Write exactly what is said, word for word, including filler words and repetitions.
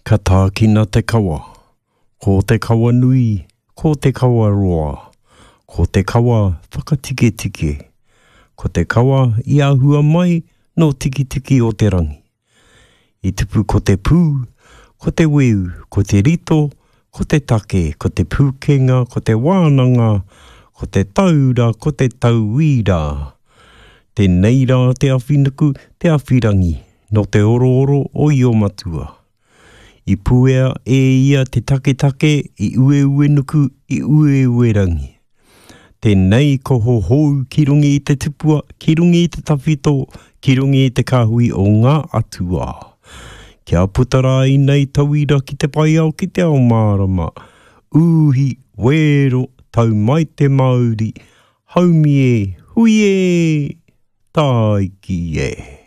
Ka tākina te kawa. Ko te kawa nui, ko te kawa roa, ko te kawa whakatiketike, ko te kawa i ahua mai nō Tikitiki o te rangi. I tupu ko te pū, ko te weu, ko te rito, ko te take, ko te pūkenga, ko te wānanga, ko te taura, ko te tauira. Tēnei rā te awhinuku, te awhirangi, nō te orooro o Io-matua. I puea e ia te taketake i Ueuenuku, i Ueuerangi. Tēnei ko hohou ki runga i te tupua, ki runga i te tawhito, ki runga i te kāhui o ngā atua. Kia puta rā inei tauira ki te whai ao ki te ao mārama. Uhi, wero, tau mai te mauri, haumi e, hui e, tāiki e.